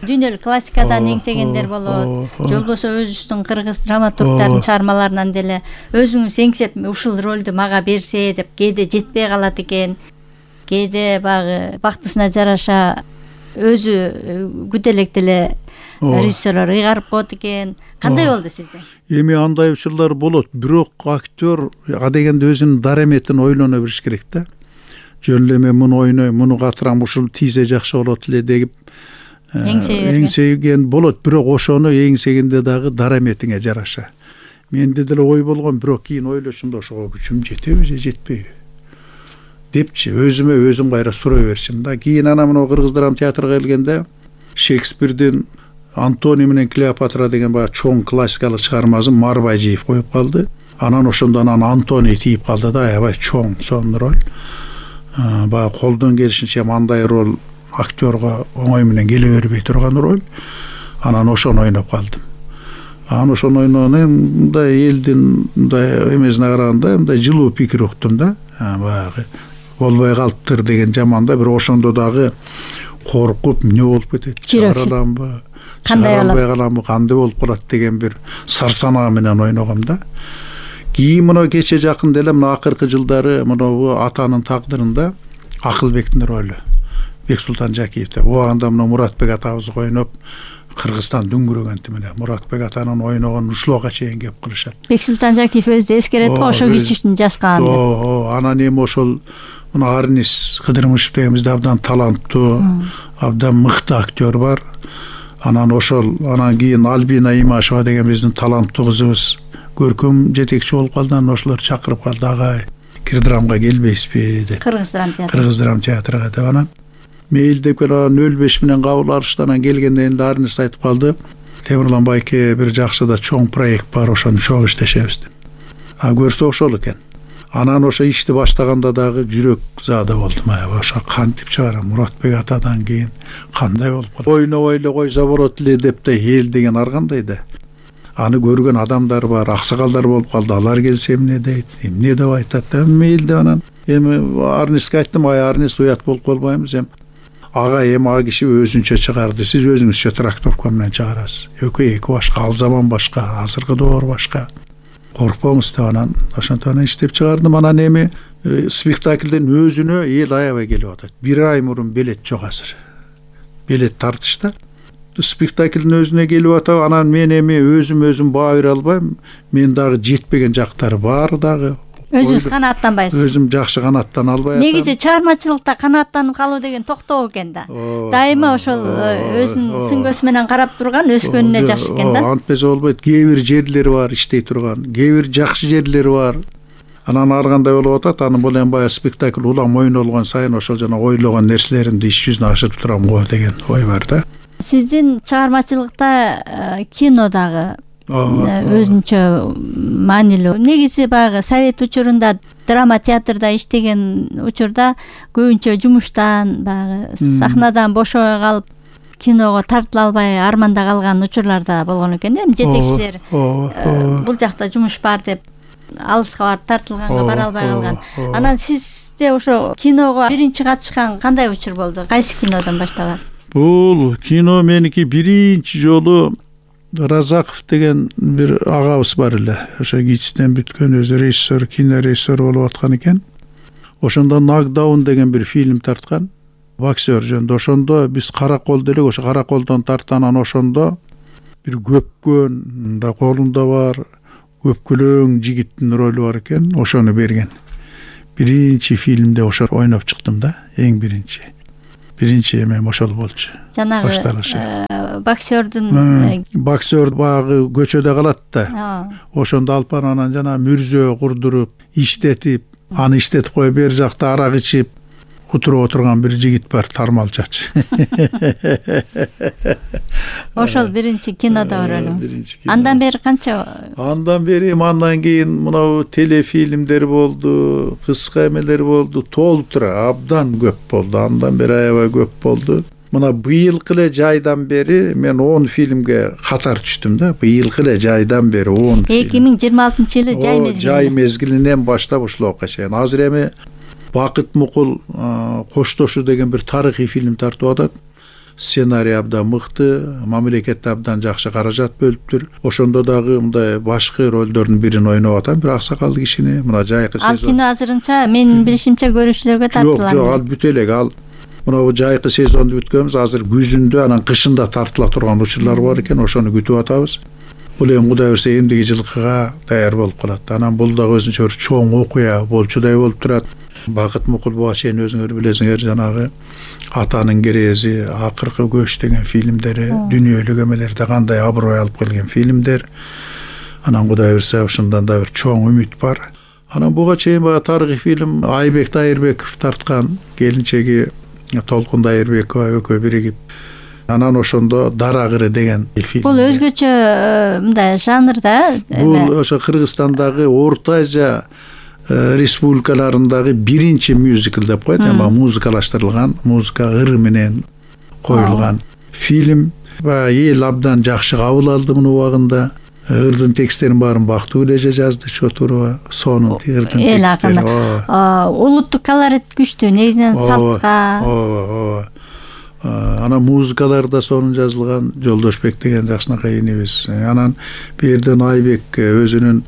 Дүйнөлүк классикадан эңсегендер болот. Же болбосо өзүбүздүн кыргыз драматургдардын чыгармаларынан деле өзүңүз эңсеп ушул ролду мага берсе деп кээде жетпей калат экен. Кээде багы бактысына жараша өзү күтө электе эле режиссерлор ыйгарып коет экен. Кандай болду сизде? Эми андай учурлар болот, бирок актер дегенде өзүнүн дараметин ойлоно билиш керек да. Жөн эле мен муну ойнойм, муну катырам, ушул тийсе жакшы болот эле деп эңсеген болот, бирок ошону эңсегенде дагы дараметиңе жараша. Менде деле ой болгон, бирок кийин ойлошумда ошого күчүм жетеби же жетпейби депчи, өзүм кайра сурай берчим да. Кийин ана мына Кыргыз драма театрга келгенде Шекспирдин Антоний менен Клеопатра деген баягы чоң классикалык чыгармасын Марбайжиев коюп калды. Анан ошондон Антоний тийип калды да, аябай чоң сонун роль. Баягы колдон келишинче мындай роль актерга оңой менен келе бербей турган роль. Анан ошону ойноп калдым. Анан ошону ойногону мындай элдин мындай эмесине караганда мындай жылуу пикир уктум да. Баягы болбой калыптыр деген жаманда, бир ошондо дагы коркуп эмне болуп кетет, чыгараламбы, кандай каламбы, кандай болуп калат деген бир сарсанаа менен ойногом да. Кийин мына кече жакын деле мына акыркы жылдары мына атанын тагдырында Акылбектин ролу Бексултан Жакиевде. Убагында мына Муратбек атабыз ойноп Кыргызстан дүңгүрөгөнтү менен Муратбек атанын ойногон ушулга чейин кеп кылышат. Бексултан Жакиев өзү эскерет го, ошо кишинин жазган деп. Анан эми ошол мына Арнис Кыдырмышев деген бизде абдан таланттуу, абдан мыкты актер бар. Анан кийин Альбина Имашева деген биздин таланттуу кызыбыз көркөм жетекчи болуп калды. Анан ошолор чакырып калды, агай Кирдрамга келбейсизби деп. Кыргыз драм театрга деп анан мейилдеп келип 05 менен кабыл алышты. Анан келгенде энди Арнис айтып калды. Темирлан байке бир жакшы да чоң проект бар, ошону чоң иштешебиз деп. Көрсө ошол экен. Анан ошо ишти баштаганда дагы жүрөк заада болдум. Ошо кантип чыгарам? Муратбек атадан кийин кандай болуп калат? Ойнобой эле койсо болот эле деп да эл деген ар кандай да. Аны көргөн адамдар бар, аксакалдар болуп калды. Алар келсе эмне дейт? Эмне деп айтат? Мейли деп анан эми Арниске айттым, Арнис уят болуп калбайбыз ага ага киши өзүнчө чыгарды. Сиз өзүңүзчө трактовка менен чыгарасыз. Эки башка, ал заман башка, азыркы доор башка. Коркпоңуз деп анан ошонтон иштеп чыгардым. Анан эми спектаклдин өзүнө эл аябай келип атат. Бир ай мурун билет жок азыр. Билет тартышта. Спектаклдин өзүнө келип атат. Анан мен эми өзүм баа бере албайм. Мен дагы жетпеген жактары бар дагы. Өзүңүз канааттанбайсыз. Өзүм жакшы канааттана албай атам. Негизи чыгармачылыкта канааттанып калуу деген токтоо экен да. Дайыма ошол өзүнүн сүңгөсү менен карап турган өскөнүнө жакшы экен да. Антпесе болбойт. Кээ бир жерлери бар иштей турган, кээ бир жакшы жерлери бар. Анан ар кандай болуп атат. Анын бул эми баягы спектакль улам ойнолгон сайын ошол жана ойлогон нерселеримди иш жүзүнө ашырып турам го деген ой бар да. Сиздин чыгармачылыкта кинодагы өзүнчө маанилүү. Негизи баягы совет учурунда драма театрда иштеген учурда көбүнчө жумуштан баягы сахнадан бошой калып киного тартыла албай арманда калган учурларда болгон экен. Эми жетекчилер бул жакта жумуш бар деп алыска барып тартылганга бара албай калган. Анан сизде ошо киного биринчи катышкан кандай учур болду? Кайсы кинодон башталат? Бул кино меники биринчи жолу Разаков деген бир агабыз бар эле. Ошо ГИТИСтен бүткөн, өзү режиссер, кинорежиссер болуп аткан экен. Ошондо Нокдаун деген бир фильм тарткан. Боксер жөнүндө. Ошондо биз каракол делек, ошо караколдон тартканан ошондо бир көпкөн да колунда бар көпкөлөң жигиттин ролу бар экен. Ошону берген. Биринчи фильмде ошо ойноп чыктым да, эң биринчи. Биринчи эмем ошол болчу. Жанагы боксер баягы көчөдө калат да. Ошондо алып барып анан жана мүрзө курдуруп, иштетип, аны иштетип коюп бер жакта арак ичип кутуруп отурган бир жигит бар, Тармалчачы. Ошол биринчи кинодо ролу. Андан бери канча? Андан кийин мынау телефильмдер болду, кыска эмелер болду, толуп тура абдан көп болду. Андан бери аябай көп болду. Мына быйылкы эле жайдан бери мен 10 фильмге катар түштүм да. Быйылкы эле жайдан бери 10 фильм. 2026-жылы жай мезгили. Жай мезгилинен баштап ушулга чейин. Азыр эми Бакыт Мукул Коштошу деген бир тарыхый фильм тартып атат. Сценарий абдан мыкты, мамлекет абдан жакшы каражат бөлүптүр. Ошондо дагы мындай башкы ролдордун бирин ойноп атам, бир аксакалдуу кишини. Мына жайкы сезон. Ал кино азырынча менин билишимче көрүүчүлөргө тартылган. Жок, ал бүтө элек. Ал мына жайкы сезонду бүткөнбүз. Азыр күзүндө, анан кышында тартыла турган учурлар бар экен. Ошону күтүп атабыз. Бул эми Кудай берсе эмдиги жылкыга даяр болуп калат. Анан бул дагы өзүнчө бир чоң окуя болчудай болуп турат. Бакыт Мукул буга чейин өзүңөр билесиңер, жанагы Атанын керези, Акыркы көч деген фильмдери, дүйнөлүк эмелерде кандай аброй алып келген фильмдер. Анан Кудай берсе ошондон да бир чоң үмүт бар. Анан буга чейин баягы тарыхый фильм Айбек Дайырбеков тарткан, келинчеги Толкун Дайырбекова экөө биригип. Анан ошондо Дарагыры деген фильм. Бул өзгөчө мындай жанрда. Бул ошо Кыргызстандагы Орто Азия республикаларындагы биринчи мюзикл деп коет, эми музыкалаштырылган, музыка ыры менен коюлган фильм. Эл абдан жакшы кабыл алды муну убагында. Ырдын тексттерин баарын Бактыгүл жазды, Чотурова, сонун ырдын текстери. Улуттук колорит күчтүү, негизинен салтка. Анан музыкаларда сонун жазылган, Жолдошбек деген жакшынакай инибиз. Анан берден Айбек өзүнүн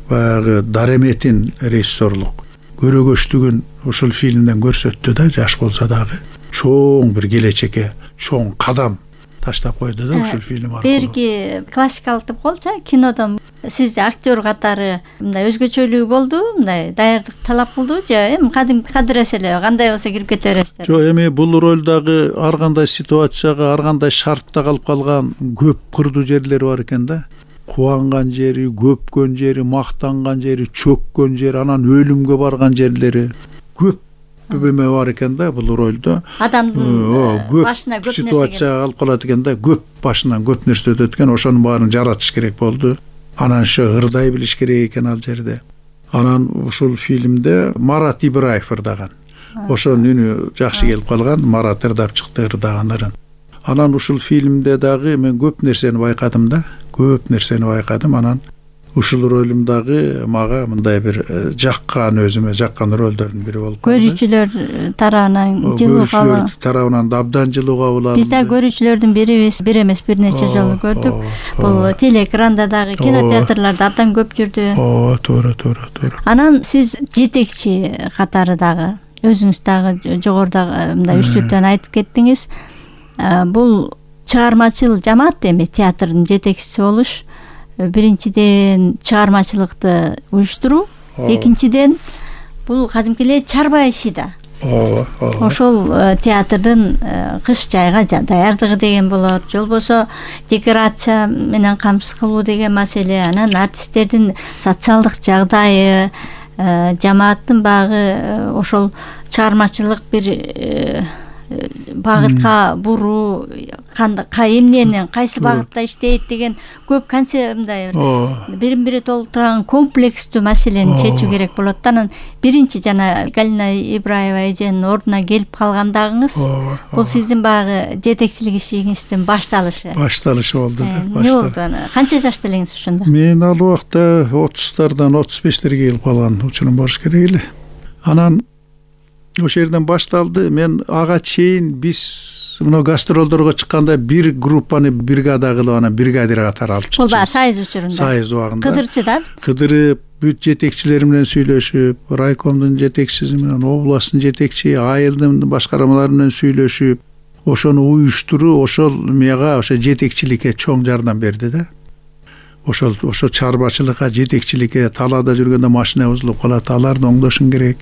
баягы дареметин режиссерлук көрөгөчтүгүн ушул фильмден көрсөттү да, жаш болсо дагы чоң бир келечекке чоң кадам таштап койду да ушул фильм аркылуу. Берги классикалык деп коелучу, кинодон сиз актер катары мындай өзгөчөлүгү болду, мындай даярдык талап кылды же эми кадимки кадырес эле кандай болсо кирип кете бересиздер? Жок, эми бул ролдагы ар кандай ситуацияга, ар кандай шартта калып калган көп кырдуу жерлери бар экен да. кубанган жери, көпкөн жери, мактанган жери, чөккөн жери, анан өлүмгө барган жерлери көп эме бар экен да бул ролдо. Адамдын башына көп нерсе ситуация алып калат экен да, көп башынан көп нерсе өтөт экен, ошонун баарын жаратыш керек болду. Анан ошо ырдай билиш керек экен ал жерде. Анан ушул фильмде Марат Ибраев ырдаган. Ошонун үнү жакшы келип калган, Марат ырдап чыкты ырдаганларын. Анан ушул фильмде дагы мен көп нерсени байкадым да, көп нерсени байкадым. Анан ушул ролум дагы мага мындай бир өзүмө жаккан ролдордун бири болуп калды. Көрүүчүлөр тарабынан жылуу кабыл. Көрүүчүлөр тарабынан да абдан жылуу кабыл алынды. Биз да көрүүчүлөрдүн бир эмес бир нече жолу көрдүк. Бул телеэкранда дагы, кинотеатрларда абдан көп жүрдү. Туура. Анан сиз жетекчи катары дагы өзүңүз дагы жогоруда мындай 3-4төн айтып кеттиңиз. Бул чыгармачыл жамаат эми театрдын жетекчиси болуш. Биринчиден чыгармачылыкты уюштуруу, экинчиден бул кадимки эле чарба иши да. Ошол театрдын кыш жайга даярдыгы деген болот, же болбосо декорация менен камсыз кылуу деген маселе, анан артисттердин социалдык жагдайы, жамааттын багы ошол чыгармачылык бир багытка буруу, эмнени кайсы багытта иштейт деген көп концепт бирин бири толтурган комплекстүү маселени чечүү керек болот да. Анан биринчи жана Галина Ибраева эженин ордуна келип калгандагыңыз бул сиздин баягы жетекчилик ишиңиздин башталышы болду да. Эмне болду аны? Канча жашта элеңиз ошондо? Мен ал убакта 30-тардан 35-терге келип калган учурум болуш керек эле. Анан ошол жерден башталды. Мен ага чейин биз мына гастролдорго чыкканда бир группаны бригада кылып, анан бригадир катары алып чыкчу. Бул баягы Союз учурунда. Союз убагында. Кыдырчы да? Кыдырып, бүт жетекчилер менен сүйлөшүп, райкомдун жетекчиси менен, областтын жетекчи, айылдын башкармалары менен сүйлөшүп, ошону уюштуруу, ошол мага ошо жетекчиликке чоң жардам берди да. Ошо чарбачылыкка, жетекчиликке, талаада жүргөндө машина бузулуп калат, аларды оңдошуң керек.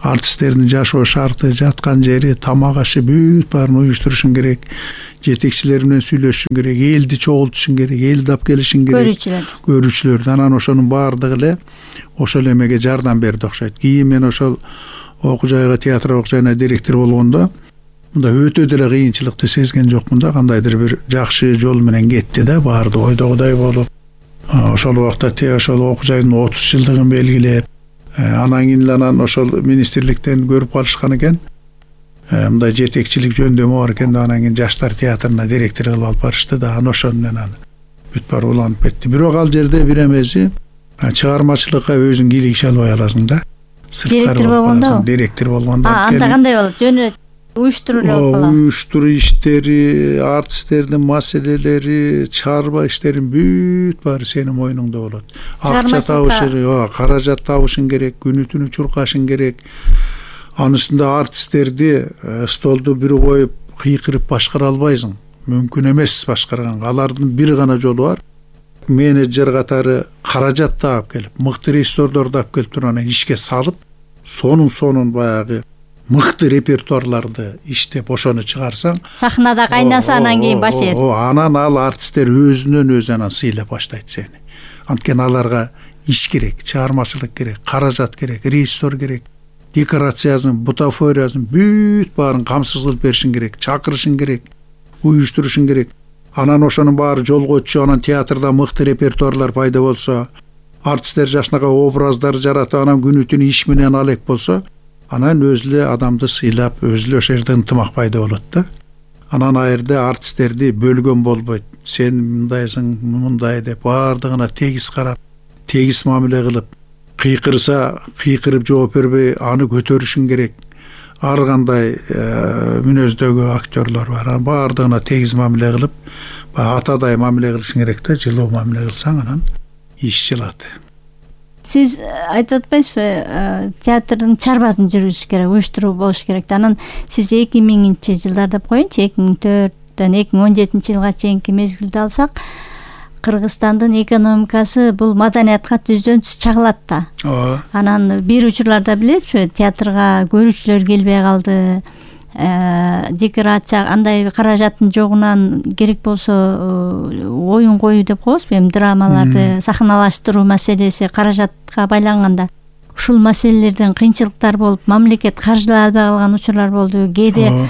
Артисттердин жашоо шарты, жаткан жери, тамак ашы бүт баарын уюштурушуң керек. Жетекчилер менен сүйлөшүшүң керек, элди чогултушуң керек, элди алып келишиң керек. Көрүүчүлөрдү. Анан ошонун баардыгы эле ошол эмеге жардам берди окшойт. Кийин мен ошол окуу жайга, театр окуу жайына директор болгондо мында өтө деле кыйынчылыкты сезген жокмун да. Кандайдыр бир жакшы жол менен кетти да, баардыгы ойдогудай болуп. Ошол убакта ошол окуу жайдын 30 жылдыгын белгилеп, анан кийин ошол министрликтен көрүп калышкан экен. Мындай жетекчилик жөндөмү бар экен да, анан кийин жаштар театрына директор кылып алып барышты да. Ошону менен бүт баары уланып кетти. Бирок ал жерде бир эмеси, чыгармачылыкка өзүң кийлигише албай аласың да. Директор болгондо? Директор болгондо. Анда кандай болот? Жөн уюштуруу эле болуп калат. Уюштуруу иштери, артисттердин маселелери, чарба иштерин бүт баары сенин мойнуңда болот. Акча табышың, каражат табышың керек, күнү-түнү чуркашың керек. Анын үстүндө артисттерди столду бир коюп кыйкырып башкара албайсың. Мүмкүн эмес башкарганга. Алардын бир гана жолу бар. Менеджер катары каражат таап келип, мыкты режиссерлорду алып келип туруп анан ишке салып, сонун баягы мыкты репертуарларды иштеп ошону чыгарсаң, сахнада кайнаса анан кийин баштайт. Анан ал артисттер өзүнөн өзү анан сыйлап баштайт сени. Анткени аларга иш керек, чыгармачылык керек, каражат керек, режиссер керек, декорациясын, бутафориясын бүт баарын камсыз кылып беришиң керек, чакырышың керек, уюштурушуң керек. Анан ошонун баары жолго өтчү, анан театрда мыкты репертуарлар пайда болсо, артисттер жашынакай образдар жаратып, анан күнү-түнү иш менен алек болсо, анан өзү эле адамды сыйлап, өзү эле ошол жерде ынтымак пайда болот да. Анан ал жерде артисттерди бөлгөн болбойт. Сен мындайсың, мындай деп баардыгына тегиз карап, тегиз мамиле кылып, кыйкырса кыйкырып жооп бербей аны көтөрүшүң керек. Ар кандай мүнөздөгү актерлор бар. Анан баардыгына тегиз мамиле кылып, атадай мамиле кылышың керек да, жылуу мамиле кылсаң анан иш жылат. Сиз айтып атпайсызбы, театрдын чарбасын жүргүзүш керек, уюштуруу болуш керек. Анан сиз 2000-чи жылдар деп коеюнчу, 2004-төн 2017 жылга чейинки мезгилди алсак, Кыргызстандын экономикасы бул маданиятка түздөн түз чагылат да. Анан бир учурларда билесизби, театрга көрүүчүлөр келбей калды. декорация андай каражаттын жогунан керек болсо оюн коюу деп коебузбу, эми драмаларды сахналаштыруу маселеси каражатка байланганда ушул маселелерден кыйынчылыктар болуп, мамлекет каржылай албай калган учурлар болду. Кээде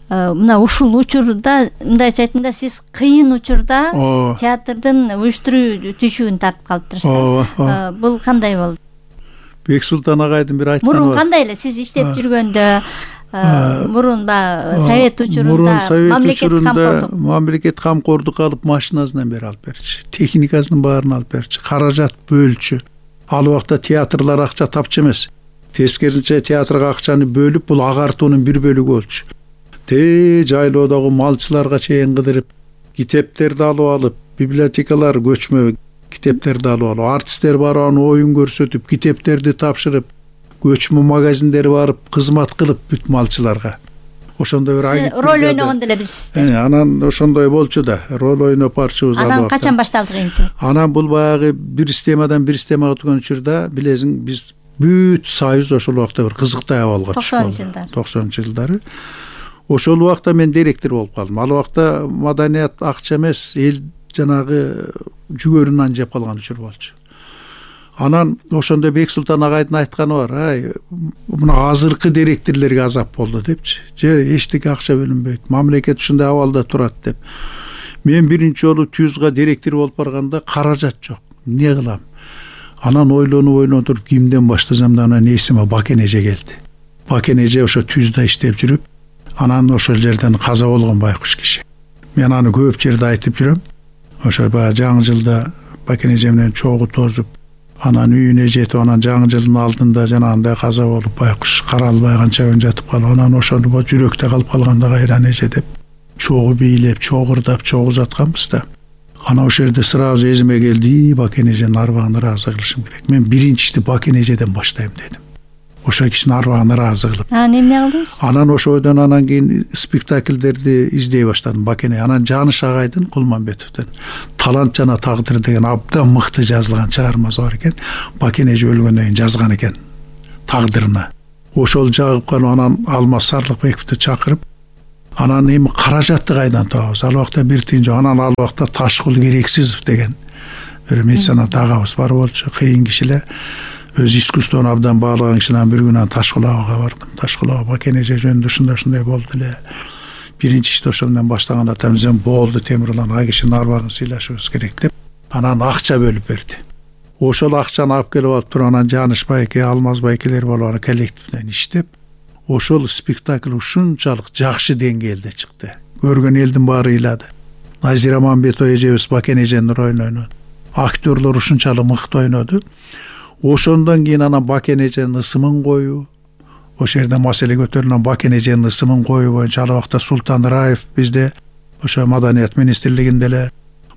мына ушул учурда мындайча айтканда сиз кыйын учурда театрдын уюштуруу түйшүгүн тартып калыптырсыз. Бул кандай болду? Бексултан агайдын бир айтканы бар. Мурун кандай эле сиз иштеп жүргөндө, мурун баягы совет учурунда мамлекет камкордук алып, машинасынан бери алып берчү, техникасынын баарын алып берчү, каражат бөлчү. Ал убакта театрлар акча тапчу эмес. Тескерисинче театрга акчаны бөлүп, бул агартуунун бир бөлүгү болчу. Жайлоодогу малчыларга чейин кыдырып, китептерди алып алып, библиотекалар көчмө китептерди алып алып, артисттер барып оюн көрсөтүп, китептерди тапшырып, көчмө магазиндер барып кызмат кылып бүт малчыларга. Ошондой бир агенттик роль ойногондо эле билсиздер. Анан ошондой болчу да, роль ойноп барчубуз. Анан качан башталды кыйынчылык? Анан бул баягы бир системадан бир системага өткөн учурда, билесиң, биз бүт союз ошол убакта бир кызыктай абалга түштү. 90-жылдары. Ошол убакта мен директор болуп калдым. Ал убакта маданият акча эмес, эл жанагы жүгөрүн жеп калган учур болчу. Анан ошондо Бексултан агайдын айтканы бар, мына азыркы директорлорго азап болду депчи. Эчтеке акча бөлүнбөйт, мамлекет ушундай абалда турат деп. Мен биринчи жолу ТЮЗга директор болуп барганда каражат жок. Эмне кылам? Анан ойлонуп кимден баштасам да анан эсиме Бакен эже келди. Бакен эже ошо ТЮЗда иштеп жүрүп, анан ошол жерден каза болгон байкуш киши. Мен аны көп жерде айтып жүрөм. Ошо баягы жаңы жылда Бакен эже менен чогуу тозуп, анан үйүнө жетип, анан жаңы жылдын алдында жанагындай каза болуп, байкуш каралбай канча күн жатып калып, анан ошону жүрөктө калып калганда кайран эже деп чогуу бийлеп, чогурдап, чогуу узатканбыз да. Анан ошол жерде сразу эзиме келди, Бакен эженин арбагына ыраазы кылышым керек. Мен биринчисти Бакен эжеден баштайм дедим. Ошол кишинин арбагына ыраазы кылып. Эмне кылдыңыз? Анан ошойдон анан кийин спектакльдерди издей баштадым Бакен. Анан Жаныш агайдын, Кулманбетовдун Талант жана тагдыр деген абдан мыкты жазылган чыгармасы бар экен. Бакен эже өлгөндөн кийин жазган экен тагдырына. Ошол жагып калып, анан Алмаз Сарлыкбековду чакырып, анан эми каражатты кайдан табабыз? Ал убакта бир тыйын жок. Анан ал убакта Ташкул Керексизов деген бир меценат агабыз бар болчу, кыйын киши эле. Өз искусствону абдан баалаган кишинен бир күнү Ташкул абага бардым. Ташкул ага Бакен эже жөнүндө ушундай болду эле. Биринчи ишти ошол менен баштаганда тамзем болду, Темирлан ага кишинин арбагын сыйлашыбыз керек деп, анан акча бөлүп берди. Ошол акчаны алып келип алып туруп, анан Жаныш байке, Алмаз байкелер болуп аны коллективден иштеп, ошол спектакль ушунчалык жакшы деңгээлде чыкты. Көргөн элдин баары ыйлады. Назира Мамбетова эжебиз Бакен эженин ролун ойноду. Актерлор ушунчалык мыкты ойноду. Ошондон кийин анан Бакен эженин ысымын коюу, ошол жерде маселе көтөрүлгөн Бакен эженин ысымын коюу боюнча ал убакта Султан Раев бизде ошо Маданият министрлигинде эле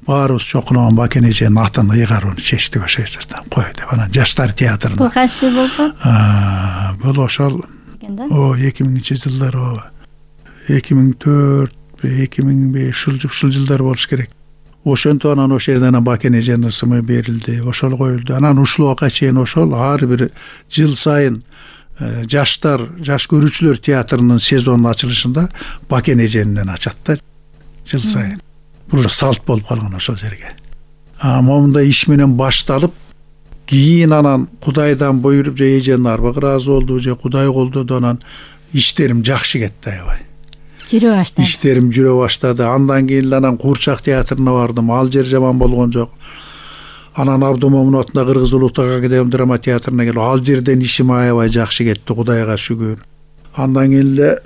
баарыбыз чокулган Бакен эженин атын ыйгарууну чечтик ошол жерден кой деп. Анан жаштар театрына. Бул кайсы жыл болду? Бул ошол 2000-жылдар, 2004, 2005 ушул жылдар болуш керек. Ошентип анан ошол жерден Бакен эженин ысымы берилди, ошол коюлду. Анан ушул убакка чейин ошол ар бир жыл сайын жаш көрүүчүлөр театрынын сезонунун ачылышында Бакен эженинен ачат да жыл сайын. Бул салт болуп калган ошол жерге. Момундай иш менен башталып, кийин анан Кудайдан буйруп, же эженин арбагы ыраазы болду, же Кудай колдоду, анан иштерим жакшы кетти аябай. Жүрө баштады. Иштерим жүрө баштады. Андан кийин анан Куурчак театрына бардым. Ал жер жаман болгон жок. Анан Абдумомуновдун Кыргыз Улуттук академиялык драма театрына келип, ал жерден ишим аябай жакшы кетти, Кудайга шүгүр. Андан кийин эле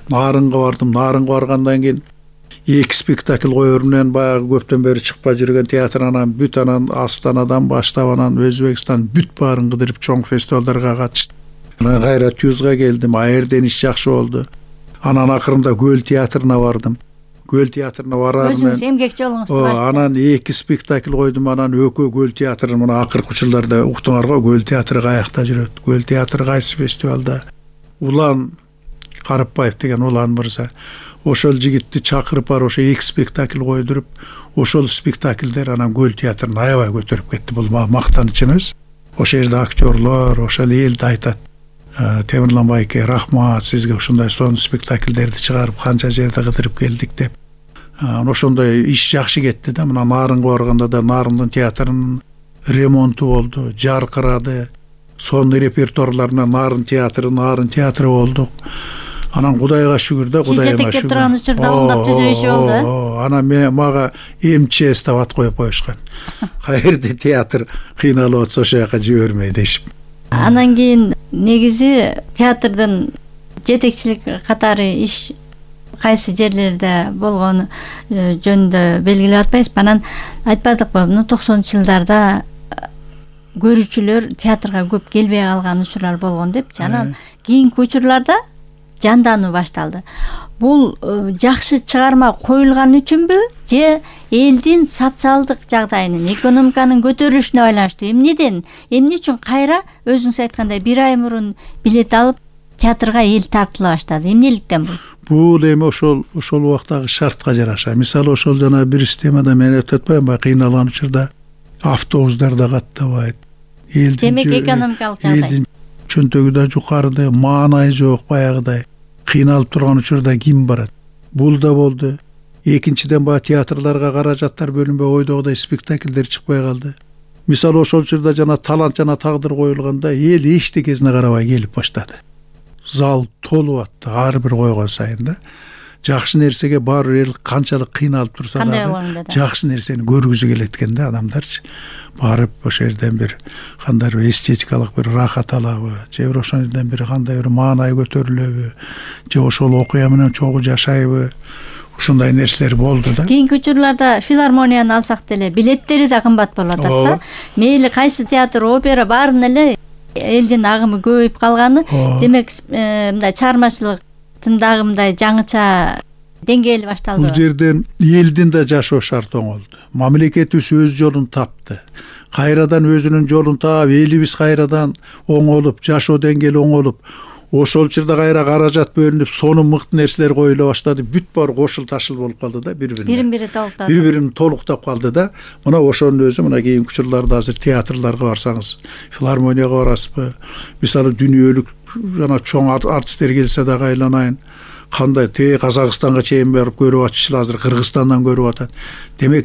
Нарынга бардым. Нарынга баргандан кийин 2 спектакль коёр менен баягы көптөн бери чыкпай жүргөн театр анан бүт анан Астанадан баштап анан Өзбекстан бүт баарын кыдырып чоң фестивалдарга катыштым. Анан кайра ТЮЗга келдим. Аерден иш жакшы болду. Анан акырында Көл театрына бардым. Көл театрына барар менен өзүңүз эмгекчи болуңузду баштап. Анан 2 спектакль койдум. Анан Өкө Көл театры мына акыркы учурларда уктуңар го, Көл театры каякта жүрөт. Көл театры кайсы фестивалда? Улан Карыпбаев деген Улан мырза ошол жигитти чакырып бар, ошо 2 спектакль койдуруп, ошол спектакльдер анан Көл театрын аябай көтөрүп кетти. Бул мактаныч эмес. Ошол жерде актерлор, ошол элди айтат. Темирлан байке, рахмат сизге ушундай сонун спектакльдерди чыгарып канча жерде кыдырып келдик деп. Ошондой иш жакшы кетти да. Мына Нарынга барганда да Нарындын театрынын ремонту болду, жаркырады. Сонун репертуарлар менен Нарын театры болдук. Анан Кудайга шүгүр да, Кудайга шүгүр. Жетектеп турган учурда оңдоп түзөбүшү болду. Анан мага МЧС деп ат коюп коюшкан. Каерде театр кыйналып атса ошол жака жибермей дешип. Анан кийин негизи театрдын жетекчилик катары иш кайсы жерлерде болгону жөнүндө белгилеп атпайсызбы? Анан айтпадыкпы, 90-жылдарда көрүүчүлөр театрга көп келбей калган учурлар болгон депчи. Анан кийинки учурларда жандануу башталды. Бул жакшы чыгарма коюлган үчүнбү же элдин социалдык жагдайынын, экономиканын көтөрүлүшүнө байланыштуу? Эмне үчүн кайра өзүңүз айткандай 1 ай мурун билет алып театрга эл тартыла баштады? Эмнеликтен бул? Бул эми ошол убактагы шартка жараша. Мисалы ошол жана бир системада мен айтып атпаймынбы, кыйналган учурда автобустар да каттабайт. Демек экономикалык жагдай. Элдин чөнтөгү да жукарыда, маанайы жок баягыдай. Кыйналып турган учурда ким барат? Бул да болду. Экинчиден театрларга каражаттар бөлүнбөй, ойдогудай спектакльдер чыкпай калды. Мисалы ошол учурда жана талант жана тагдыр коюлганда эл эчтекесине карабай келип баштады. Зал толуп атты ар бир койгон сайын да. Жакшы нерсеге бар эл канчалык кыйналып турса да жакшы нерсени көргүзү келет экен да адамдарчы. Барып ошол жерден бир кандайдыр бир эстетикалык бир рахат алабы, же бир ошол жерден бир кандай бир маанай көтөрүлөбү, же ошол окуя менен чогуу жашайбы. Ушундай нерселер болду да. Кийинки учурларда филармонияны алсак деле билеттери да кымбат болуп атат да. Мейли кайсы театр, опера баарын эле элдин агымы көбөйүп калганы, демек мындай чыгармачылыктын дагы мындай жаңыча деңгээли башталды. Бул жерден элдин да жашоо шарты оңолду. Мамлекетибиз өз жолун тапты. Кайрадан өзүнүн жолун таап, элибиз кайрадан оңолуп, жашоо деңгээли оңолуп, ошол учурда кайра каражат бөлүнүп, сонун мыкты нерселер коюла баштады. Бүт баары кошул ташыл болуп калды да, бири-бирин толуктап калды да. Мына ошонун өзү мына кийинки учурларда азыр театрларга барсаңыз, филармонияга барасызбы? Мисалы дүйнөлүк жана чоң артисттер келсе да айланайын. Кандай Казакстанга чейин барып көрүп атышчылар, азыр Кыргызстандан көрүп атат. Демек